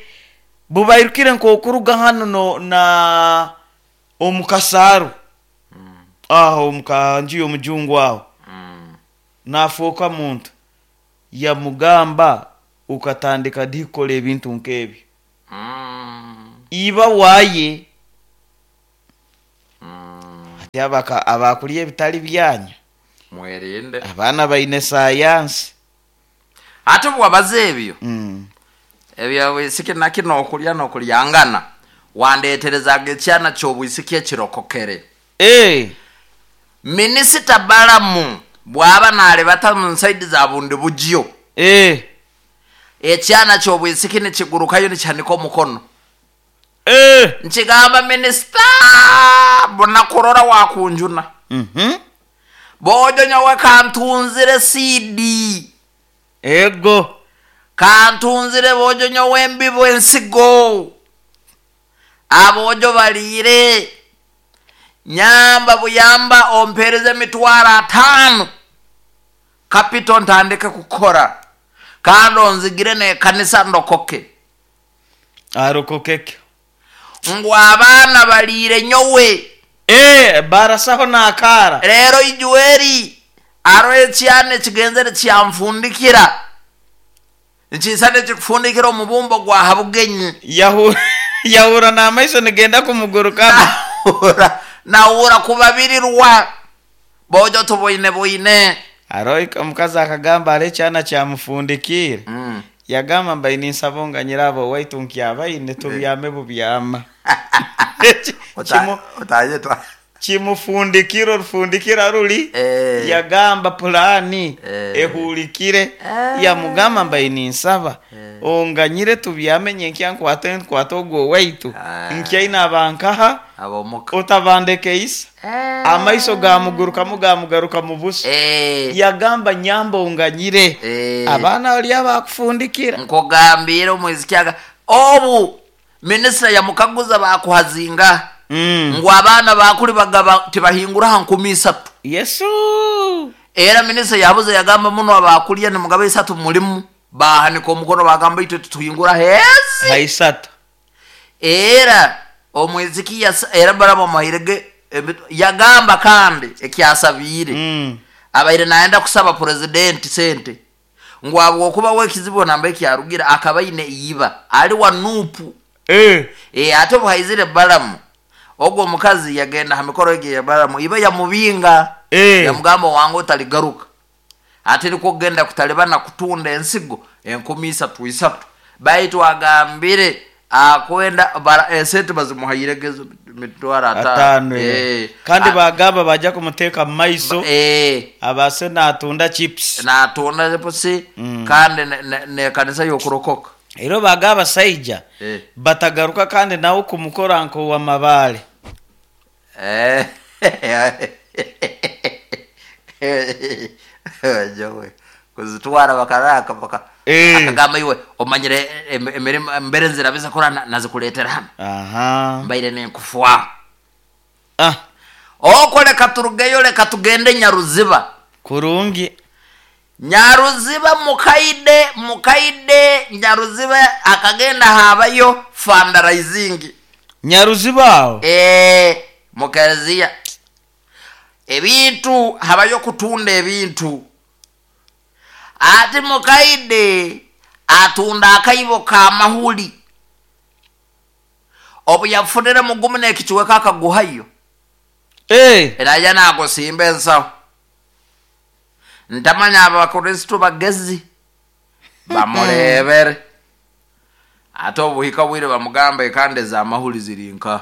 B: bubairukire nkokuruga hano no, na omukasaru aho omukanju y'omujungu aho nafuuka muntu. Yamugamba ukatandika di kukora ebintu nk'ebyo iba waye. Ati abakulya ebitali byanyu
A: mwerinde.
B: Abaana baine sayansi.
A: Ate bwabaza ebyo ebyo bwisiki nakino okulya nokulyangana wandeterezaga ekyana kyobwisiki ekirokokere. Minisita Balamu bwaba nalebata mu nsaidi za bundi bugyo ekyana kyobwisiki nikigurukayo nikihanika omukono. Nkigamba minisita bunakurora wakunjuna. Bojo nyowe kantunzire sidi.
B: Ego.
A: Kantunzire bojo nyowe embibo ensigo. Abojo balire. Nyamba buyamba ompereze emitwaro 5. Kapito ntandike kukora. Kandi onzigire nekanisa ndokoke.
B: Arokokeke.
A: Ngu abaana balire nyowe.
B: Barasaho nakara.
A: Rero ijueri aro ekyana ekigenzere kyanfundikira. Nkisane ekikufundikira omubumbo gwa habugenyi.
B: Yahura n'amaiso nigenda kumuguruka.
A: Nahura kubabirirwa. Bojo tuboine boine.
B: Aro omukazi akagamba ari ekyana kyamufundikire. Yagamba mbaine nsabonga nyirabo waitu nkyabaine tubyame bubyama. Kimufundikira orufundikira ruli. Yagamba pulani ehulikire. Yamugamba mbaine nsaba onganyire tubyame nyenkya nkwate nkwate ogwo waitu. Nkyaine abankaha otabandeke isa. Amaiso gamugurukamu gamugaruka mu buso. Yagamba nyamba onganyire. Abaana bali abakufundikira.
A: Nkugambire omwizikyaga obu minisita yamukaguza bakuhazinga. Ngu abaana bakuli bagaba tibahingura ha 3,000.
B: Yesu.
A: Era minisita yabuze yagamba muno abakulya ni mugabe 3 mulimu bahanika omukono bagamba itwe tutuhingura hezi.
B: Ha 3.
A: Era omwiziki era baraba mahirege yagamba kandi ekyasabire. Abaire naenda kusaba president sente. Ngu abo okuba wekizibu namba ekyarugira akabaine iba ali wa nupu. Ate buhaizire Balamu. Ogwo omukazi yagenda ha mikoro ege ya Balamu iba yamubinga. Yamugamba wangu otaligaruka. Ate niko kugenda kutalibana kutunda ensigo 3,000. Baitu agambire akwenda esente bazimuhayiregezo mitwaro 5.
B: Kandi bagamba bajja kumuteka mu maiso. Abase natunda chips.
A: Natunda chips. Kandi ne kanisa yokurokoka.
B: Ero bagaba saija batagaruka kandi nawo kumukora nko wa mabale.
A: Jowe kuzitwara bakaraka baka akagamba iwe omanyire emirimo mbere nzira biza kora nazikuletera hano. Mbaire nenkufwa. Okoleka turugeyo leka tugende Nyaruziba.
B: Kurungi.
A: Nyaruziba mukaide Nyaruziba akagenda habayo fundraising.
B: Nyaruziba?
A: Mukereziya. Ebintu habayo kutunda ebintu. Ati mukaide atunda akaibo ka mahuli. Obu yafunire mugumu n'ekichweka akaguhayo. Era ya nagosimba ensawo. Ntamanya abakristo bagezi bamurebere. Ate obuhika bwire bamugamba ekande za mahuli zirinka.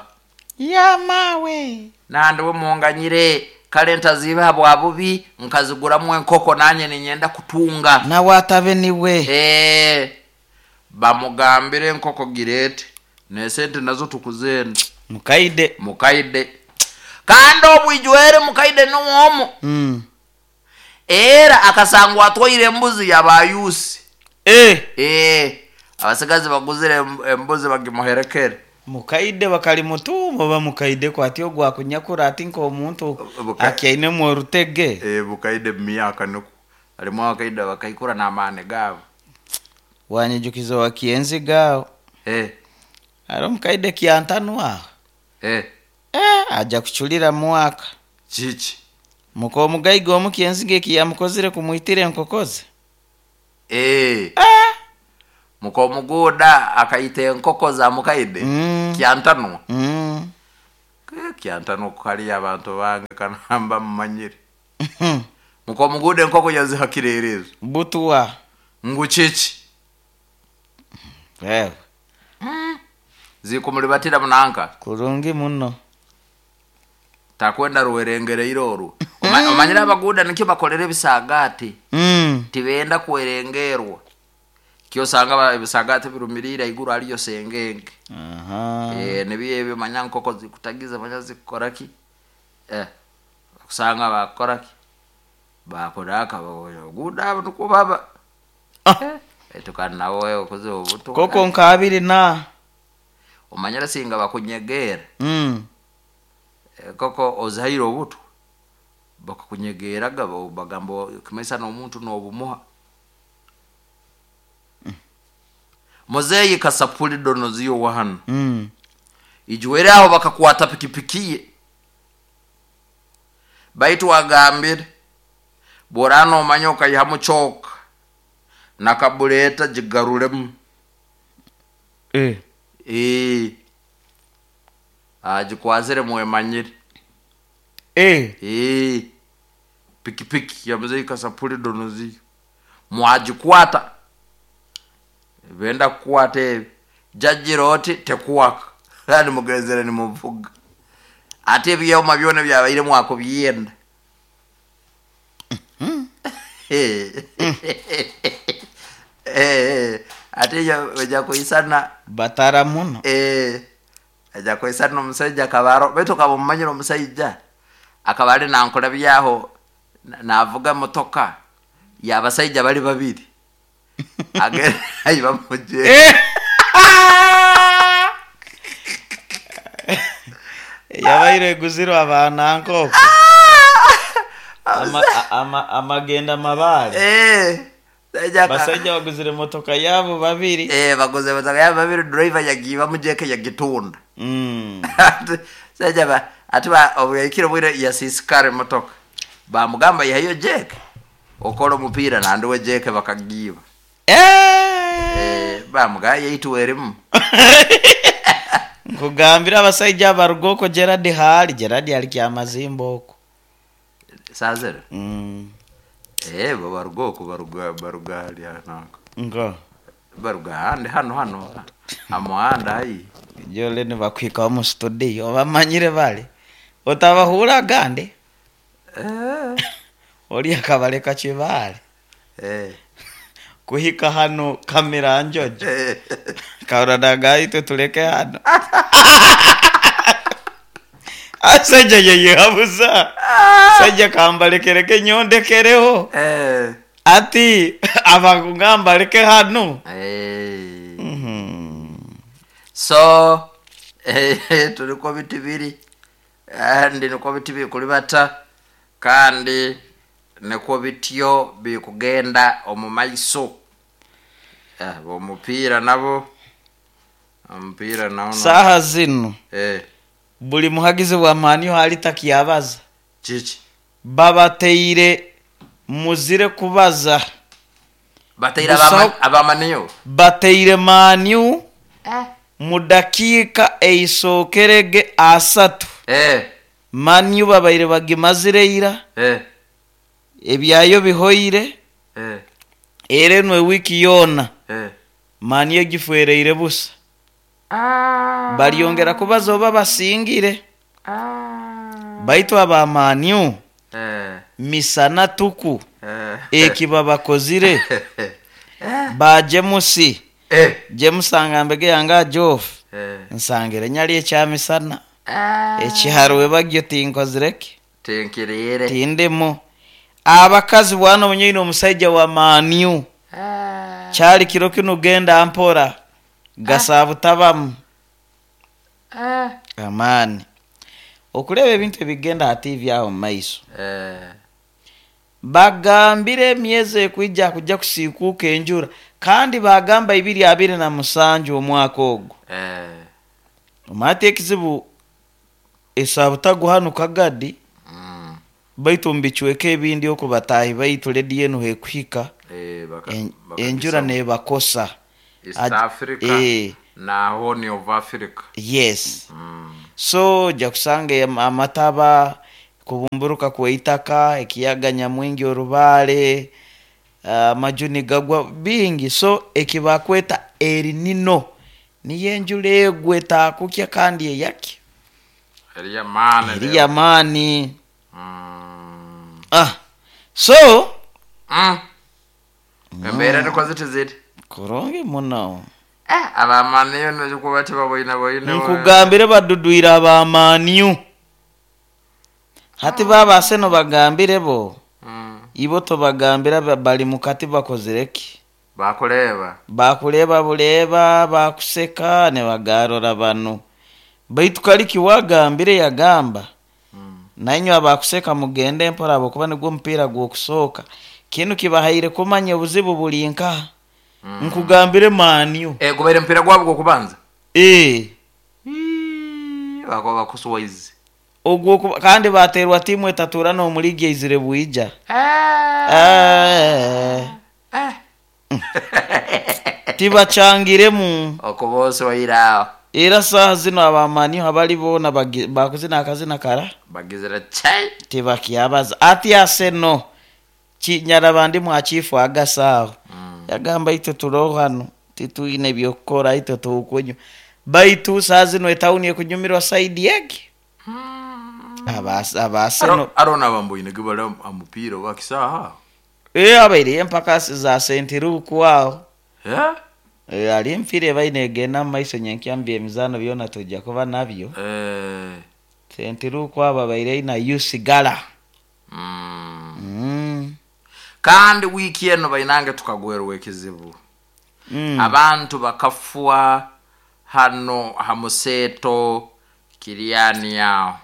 B: Ya mawe.
A: Nandi we munganyire kale ntaziba bwa bubi nkaziguramu enkoko nanye ninyenda kutunga.
B: Na watabe niwe.
A: Bamugambire enkoko girete nesente nazo tukuzenda. Mukaide. Kandi obwijwere mukaide nuwomo. Era akasangwa atwaire embuzi yabayusi. Abasigazi baguzire embuzi bagimuherekere.
B: Mukaide bakali mutumo bamukaide kwati ogwa kunyakura ati nko omuntu akyaine mu rutege.
A: Mukaide myaka nuko. Alimu akaida bakaikura n'amane gabo.
B: Wanyijukizo wa kienzi gao. Aro mukaide kiantanwa. Aja kuchulira mwaka.
A: Chichi.
B: Muko omugaiga omukienzi ge kiyamukozire kumuitire enkokoze.
A: Eh. Mukomuguda akaita enkoko za mukaide. Kyantanwa. Kyantanwa kukaliya abantu bange kanamba mumanyire. Mukomuguda enkoko yazihakirerezo.
B: Butuwa.
A: Ngu kiki?
B: Wewe.
A: Zikumulibatira munanka.
B: Kurungi muno.
A: Takwenda ruwerengereire oru. Omanyire abaguda nikyo bakolera ebisagati. Tibenda kwerengerwa. Kyosanga ebisagati birumirira iguru aliyo sengenge. Nibiyo ebyo manya nkoko zikutagiza manya zikukoraki. Kusanga bakoraki. Bakoraka baguda abo nukwo baba. Etukana nawe okoze obuto.
B: Koko nkabiri na.
A: Omanyira singa bakunyegera. Koko ozaire obuto. Bakakunyegeraga bagamba kimesa n'omuntu n'obumuha. Muzeyi kasapuli donoziyo wahano. Ijuwere aho bakakwata pikipikiye. Baitu wagambire borano omanyoka yamuchoka nakabuleta jigarulemu. Ajikwazire mwemanyire. Pikipiki ya muzeyi kasapuli donoziyo. Mwajikwata. Benda kukwata ebi. Jajiroti tekuwaka. Kandi mugezere ni muvuga. Ate ebyoma byona byabaire mwako byenda. Ate ya kuisana
B: batara muno.
A: Aja kuisana omusajja kabaro. Beto kabumanyira omusajja. Akabali nankola byaho navuga motoka. Yabasajja bali babiri. Agera ayiba muje.
B: Yabaire guziro abana nkoko. Amagenda mabale. Basajja baguzire motoka yabo babiri.
A: Baguze motoka yabo babiri, driver yagiba mujeke yagitunda. Sajja ba atiba obuyikiro bwire yasisikare motoka. Bamugamba yayo jeke. Okola mupira na nduwe jeke bakagiba. Bamugaye yituweremu.
B: Nkugambira abasajja barugoko Gerard hali, Gerard ali kyamazimbo oko.
A: Sazera. Barugoko baruga hali anako.
B: Ngo.
A: Baruga handi hano. Amuhanda ayi.
B: Jole ni bakwika mu studio bamanyire bale. Otabahura gande. Oli akabaleka kibale. Kuhika hano kamera njojo. Kauradaga itwe tuleke hano. Asajja yeye habuza. Sajja kambalekereke nyondekereho. Ati abakugamba leke hano.
A: So tuliko bitibiri. Kandi niko bitibiri kulibata. Kandi niko bityo bikugenda omumaiso. Omupira nabo. Omupiira naona.
B: Saha zino. Buli muhagizi wa mani hali takiyabaza.
A: Chichi.
B: Babateire muzire kubaza.
A: Bateire abamaniyo.
B: Bateire maniu. Mudakika eisokerege asatu. Maniu babaire bagimazire ira. Ebyayo bihoire. Erenwe wiki yona. Maniu gifuereire busa. Baliongera kubaza oba basingire. Baitu abamaniu. Misana tuku. Eki babakozire. Ba Jemusi. Jemusi mbege yanga Jof. Nsangire nyali ekyamisana. Ekiharuwe bagyo tinkozireke.
A: Tinkirire.
B: Tindemo. Abakazi bwana munyeino omusajja wa maniu. Kyali kiro kino genda mpora. Gasabu tabamu. Amani. Okuleba ebintu ebigenda ati byawo maiso. Bagambire emyezi ekwijja kujja kusiikuuka enjura. Kandi bagamba 2027 omwaka ogwo. Omate ekizibu esabutaguhanuka gadi. Baitu mbichweke ebindi okubatahi baitu ledi yenu hekuhika. Enjura nebakosa.
A: East Africa na Horn of Africa.
B: Yes. So ojja kusanga amataba, kubumburuka kweitaka, ekiyaga nyamwingi, orubaale, amaju gagwa bingi. So ekibakweta erinino niyo enjura egwe etakukya kandi eyakya.
A: Eriyamaani.
B: Eri yamaani. So
A: Embeera niko ziti ziti.
B: Kurungi muno.
A: Abamaniyo nikuba tibaboine boine.
B: Nkugambire badudwire abamaniyu hati babase nobagambire bo. Ibo tobagambira bali mukati bakozireki.
A: Bakureba.
B: Bakureba buleba bakuseka ne bagarora bano baitu kaliki wagambire yagamba nainywe abakuseka mugende mpora abokuba nigwo omupiira gwokusooka kinu kibahaire kumanya obuzibu buli nkaha. Nkugambire maniyo.
A: Gubaire mpira gwabo gwokubanza. Bakuba bakuswaizi.
B: Ogwo kandi baterwa timu etatura n'omuligi eizire bwija. Tibachangiremu.
A: Okubose wairao.
B: Era saha zino abamaniyo abali bona bakuzina akazina kara
A: bagizira chai.
B: Tibakyabaza ati aseno kinyarabandi mwachifu agasaho. Yagamba itwe turoho hano tituine byokukora itwe tukunywa baitu saha zino etawuni ekunyumirwa saidi yake. Abaseno
A: Arona bamboine gibala amupira wakisaha.
B: Abaire empaka za sentiruku aho. Ali empira ebaine egenda mu maiso nyenkyambi emizano byona tujja kuba nabyo. Sentiruku abo abaire na Usigala.
A: Kandi wiki eno bainange tukagwerwa ekizibu. Abantu bakafwa hano hamuseto Kiriani yao.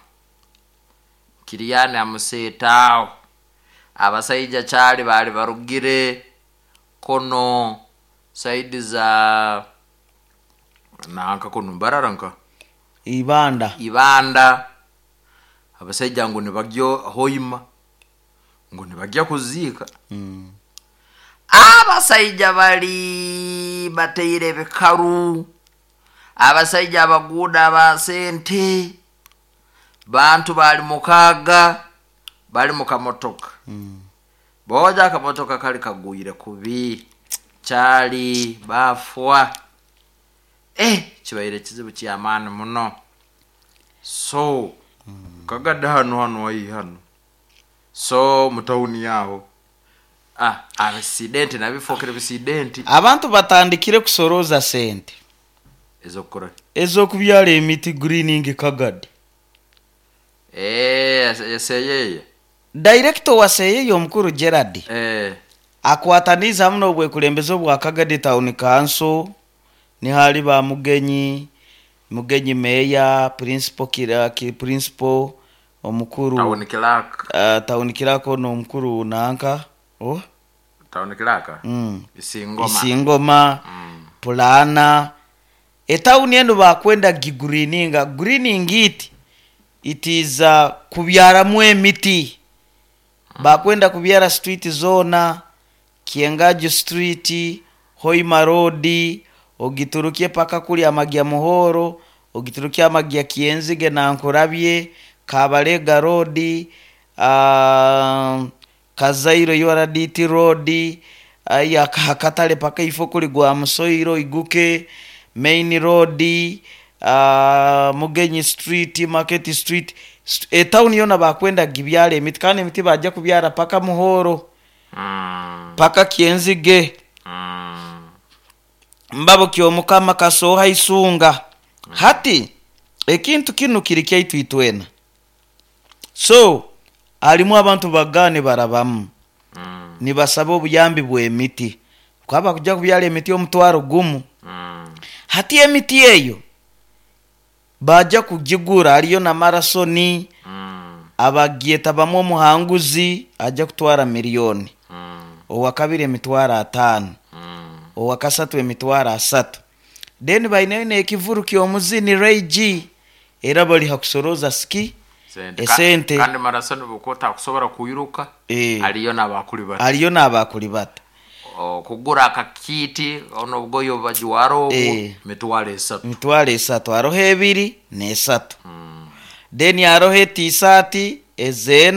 A: Kiriani hamuseto aho. Abasaija kyali bali barugire kono saidi za nanka kono mbararanka
B: Ibanda.
A: Ibanda. Abasaija ngo nibagyo hoima ngo nibagya kuziika. Abasaija bali bateire bikaru. Abasaija abaguda abasente bantu bali mukaga bali mukamotoka. Boja akamotoka kali kagwire kubi kyali bafwa. Kibaire kizibu kyamaani muno. So kagadde hano hano wai hano. So mutawuni yaho. Abasidenti nabifokere bisidenti.
B: Abantu batandikire kusoroza sente
A: ezokukora
B: ezokubyala emiti greening kagadi.
A: Seyeye.
B: Director wa Seyeye omukuru Gerard. Akwataniza muno obwekulembeze bwa Kagadi Town Council ni hali ba Mugenyi, Mugenyi Meya, Principal Kiraki, Principal omukuru
A: Town Clerk.
B: Town Clerk ono omukuru nanka. Oh?
A: Town Clerk. Isingoma.
B: Isingoma. Pulana. Etawuni eno bakwenda gigreeninga. Greening it is kubyaramu emiti. Bakwenda kubyara street zona, Kiengaju Street, Hoima Road, ogiturukie paka kuli amagya Muhoro, ogiturukie amagya Kienzige na Nkurabye, Kabalega Road, Kazairo URDT Road, aya Katale paka ifo kuli gwa Musoiro iguke, Main Road, Mugenyi Street, Market Street. Etawuni yona bakwenda gibyala emiti kandi emiti bajja kubyala paka Muhoro. Paka Kienzige. Mbabo kyomukama kasoha isunga. Hati ekintu kinu kiri kyaitu itwena. So alimu abantu bagane barabamu. Nibasaba obuyambi bw'emiti. Kwaba kujja kubyala emiti omutwaro gumu. Hati emiti eyo baja kugigura aliyo na marasoni. Abagieta bamwe omuhanguzi ajja kutwara miliyoni. Owakabiri emitwaro 5. Owakasatu emitwaro 3. Then baine ekivuru ky'omuzini Ray G era bali hakusoroza ski esente.
A: Kandi marasoni bukota kusobora kuyiruka. Aliyo n'abakulibata.
B: Aliyo n'abakulibata.
A: Okugura akakiiti ono obugoye obubajwara obu, 300,000.
B: 300,000, haroho 2 n'esatu, then haroho etisaati ezena.